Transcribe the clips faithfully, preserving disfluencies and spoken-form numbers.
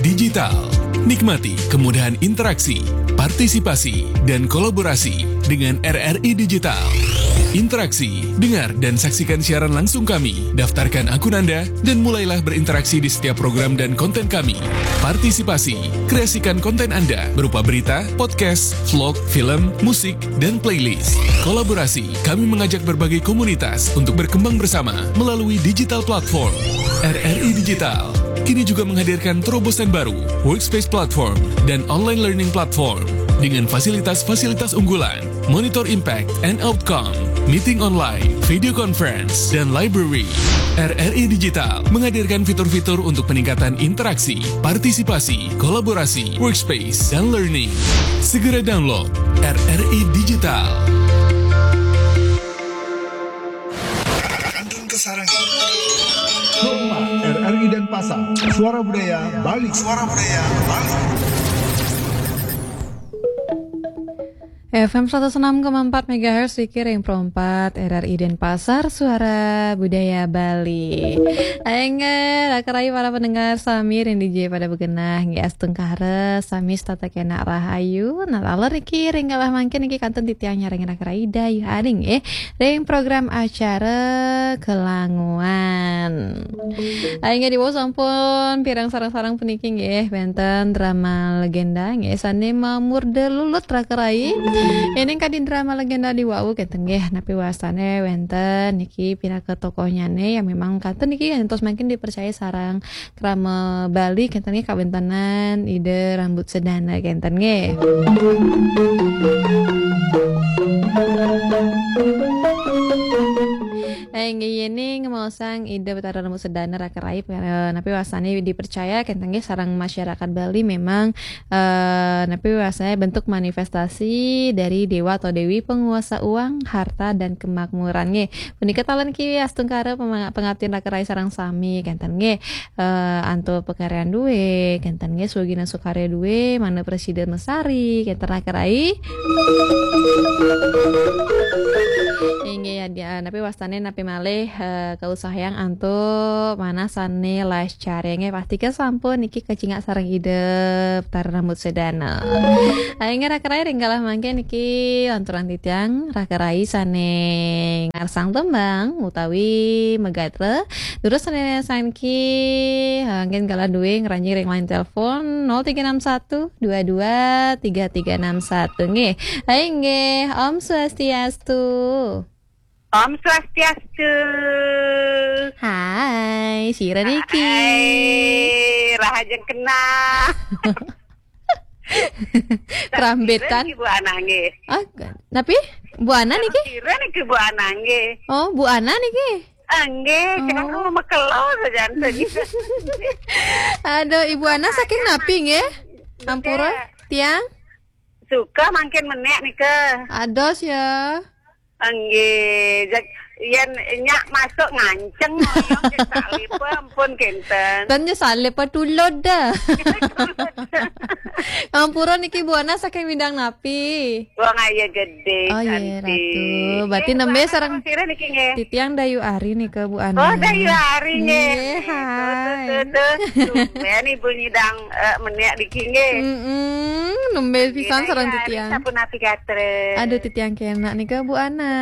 Digital. Nikmati kemudahan interaksi, partisipasi, dan kolaborasi dengan R R I Digital. Interaksi, dengar dan saksikan siaran langsung kami. Daftarkan akun Anda dan mulailah berinteraksi di setiap program dan konten kami. Partisipasi, kreasikan konten Anda berupa berita, podcast, vlog, film, musik, dan playlist. Kolaborasi, kami mengajak berbagai komunitas untuk berkembang bersama melalui digital platform. R R I Digital kini juga menghadirkan terobosan baru, Workspace Platform dan Online Learning Platform, dengan fasilitas-fasilitas unggulan, Monitor Impact and Outcome, Meeting Online, Video Conference, dan Library. R R I Digital menghadirkan fitur-fitur untuk peningkatan interaksi, partisipasi, kolaborasi, workspace, dan learning. Segera download R R I Digital. Kandun Kesarangi. Rumah R R I Denpasar, Suara Budaya Bali. Suara Budaya Bali. F M seratus enam koma empat megahertz, Wiki Ring Pro empat, R R I Denpasar, Suara Budaya Bali. Aing, eh, raka rayu para pendengar sami ring dija pada begenah, nggih, astungkara sami setata kena rahayu. Nah, taler niki ring galah mangkin niki kantun titiang nyarengin raka rayu dayuh aring, eh, ring program acara Kelanguan. Aing, nggih, diwau sampun pirang sareng-sareng puniki, nggih, wenten drama legenda, nggih, sane mamurda lulut raka rayu. Ening kadi drama legenda diwau kenten, nggih, napi wastane wenten niki pinaka tokohnyane yang memang kenten niki ngantos mangkin dipercaya sareng krama Bali kenten, nggih, kawentenan Ida Rambut Sedana kenten, nggih. Eh, nggih, yening maosang Ida Betara Rambut Sedana raka rayu, eh, napi wastane dipercaya kenten, nggih, sareng masyarakat Bali memang, eh, napi wastane bentuk manifestasi dari dewa atau dewi penguasa uang, harta, dan kemakmuran, nggih. Punika taler niki astungkara pema-, pangabdian raka rayu sareng sami kenten, nggih. Eh, antuk pakaryan due kenten, nggih, Swagina Sukarya due, Mana Presida Mesari kenten raka rayu. Inggih, ya, dia, napi wastane napi malih, eh, kausahayang antuk manah sane lascare, nggih, pastika sampun niki kacingak sareng Ida Betara Rambut Sedana. Aing, nggih, raka rayu ring galah mangkin niki lanturang titiang raka rayu sane ngarsang tembang utawi magatra. Durus sane saniki, eh, anggen galah due ngranjing ring line telepon nol tiga enam satu dua dua tiga tiga enam satu, nggih. Hai, nggih, Om Swastiastu. Om Swastiastu. Hai, sira niki? Hai, rahajeng kenah. Kerambetan. Sira niki Bu Ana nggih. Ah, napi? Bu Ana niki? Sira niki Bu Ana nggih. Oh, Bu Ana niki? Ah, nggih, oh. Kira aku mekelo sajan tadi. Aduh, Ibu Ana saking napi nggih? Ampura, nggih. Tiang? Suka mangkin menek nika. Ados ya. Nggih, jak yen nyak masuk nganceng ngoyong, jak salib ampun kenten. Ten ya salib tulud dah. Ampura niki Bu Ana saking Widang napi? Wong Aye Gede, oh, iya, Santi. Ratu. Berarti eh, nembe sareng sira niki nggih. Titiang Dayu Ari nika, Bu Ana. Oh, Dayu Ari nggih. Nggih, hai. Tuh, tuh, tuh, tuh. Tumben Ibu nyidang, eh, menek niki nggih. Mm-mm, nembe pisan sareng Dayu Ari, titiang. Sapunapi gatra? Aduh, titiang kena nika, Bu Ana.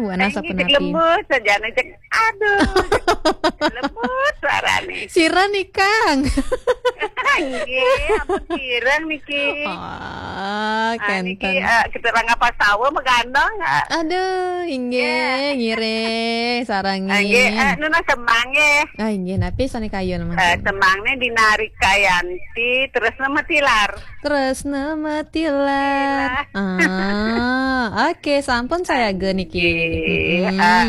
Bu Ana eh, sapunapi? Lembut saja, cek. Aduh, lembut suarane. Sira nikang. Nggih, ampun sira niki. Oh, ah, niki, kenten. Eh, kita rangga pasawa megandong, ah. Aduh, inggih, ya. Ngiring, sarang nggih, eh, nuna sembang nggih. Ah, inggih, napi sane kayun mangkin? Eh, sembangne Dina Rikayanti, Tresna Metilar. Tresna Metilar. Metilar. Ah, oke, sampun sayaga niki. Nggih, mm-mm.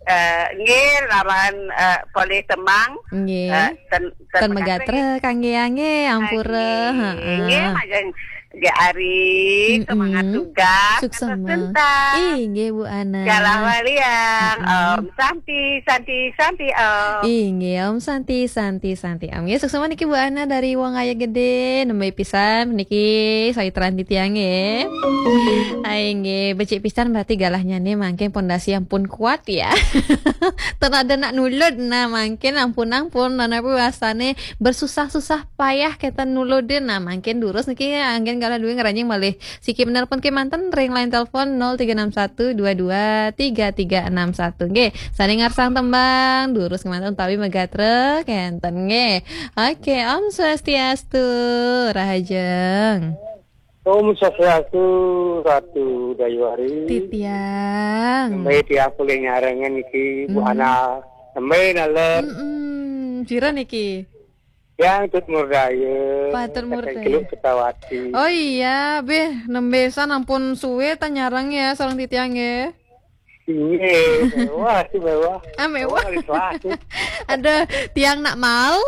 Eh, eh, nggih, lawan, eh, polih tembang. Nggih. Eh, ten, ten, ten megatra kangge ange, ampura. Nggih, heeh. Nggih, majeng. Gak Ari, semangat Mm-mm. Tugas, Suksema. Inggih, Bu Ana. Galah waliang, Mm-mm. Om Santi, Santi, Santi, Om. Inggih, Om Santi, Santi, Santi, Om. Nggih, suksema niki Bu Ana dari Wong Aye Gede, nembe pisan niki saitran titiang nggih. Ai nggih, becik pisan berarti galahnya nih mangkin pondasi ampun kuat ya. Ten ada nak nulud, nah mangkin ampun-ampun, nah napi wasane bersusah-susah payah kita nuludin, nah mangkin durus niki anggen galah duwe ngranjing malih. Siki menelpon kemanten ring line telepon nol tiga enam satu dua dua tiga tiga enam satu. Nggih, sane ngarsang tembang, durus kemanten utawi megatre kenten nggih. Oke, Om Swastiastu, Rahajeng. Om Swastiastu, Ratu Dayuari. Titiang. Nembe tiang polih nyarengan niki, Bu Hmm. Ana. Nembe nalem. Mm-mm. Sira niki? Yang Tut Murdaya. Patut Murdaya. Keluk Ketawati. Oh iya, beh, nembe san ampun suwe ta nyareng ya sareng titiang nggih. Iya, mewah sih, mewah. Ah, mewah. Mewah, mewah. Ada tiang nak mal.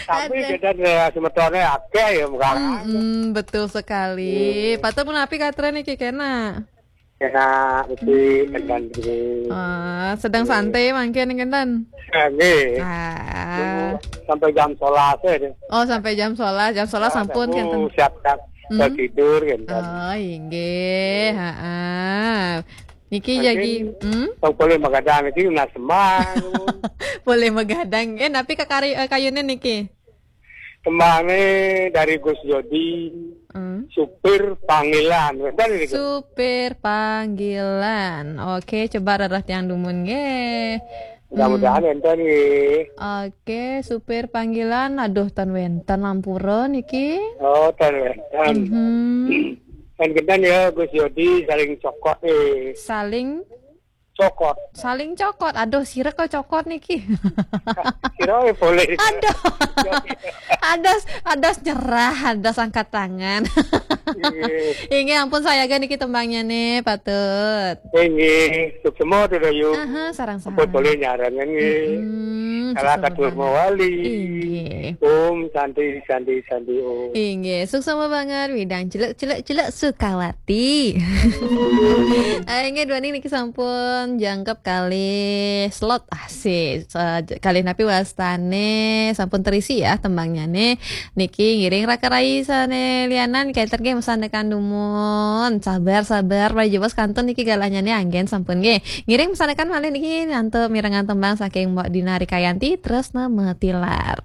Tapi Ada. Kita ada semetonnya akeh ya, bukan? Mm-mm, betul sekali. Iya. Patut menapi katra niki kena. Kena, mesti Hmm. Kendan dulu. Ah, sedang Iya. Santai mangkin kenten. Ya, nggih. Ah. Nunggu sampai jam sebelas ya, deh. Oh, sampai jam sebelas, jam sebelas Ya, sampun sampun kenten. Siap-siap Hmm. Tidur kenten. Oh, inggih, heeh. Niki mungkin jagi, hmm? Tong boleh magadang niki nak semang. Boleh magadang. Eh, napi kakari-, eh, kayune niki? Tembangnya dari Gus Jodi, Hmm. Supir Panggilan. Wenten niki? Supir Panggilan. Oke, coba rereh tiang dumun nggih. Mudah-mudahan Hmm. Wenten nggih. Oke, Supir Panggilan. Aduh, tan wenten ampura niki. Oh, tan wenten. Mhm. Kan kenten ya, Gus Jodi saling cokot eh. Saling? Cokot. Saling cokot. Aduh, sira kok cokot niki. Sira eh boleh. Aduh. Adas, adas nyerah, adas angkat tangan. Iya. Inggih, ampun sayaga niki tembangnya nih, patut. Inggih, suksema tuh, Dayu. Aha, sareng-sareng. Ampun boleh nyarangan nggih. Mm-mm, Salah suksema satu banget. Mawali. Inggih. Om Santi, Santi, Santi, Om. Inggih, suksema banget, widang celuk, celuk, celuk, Sukawati. Eh, inggih, duaning niki sampun jangkep kalih slot. Ah, si, sa-, kalih napi wastane sampun terisi ya tembangnya nih. Niki ngiring raka rai sane lianan kenten nggih mesanekan dumun. Sabar, sabar, pada jebos kantun niki galahnya nih anggen sampun nggih. Ngiring mesanekan malih niki nantu mirengan tembang saking Mbok Dina Rikayanti, Tresna Metilar.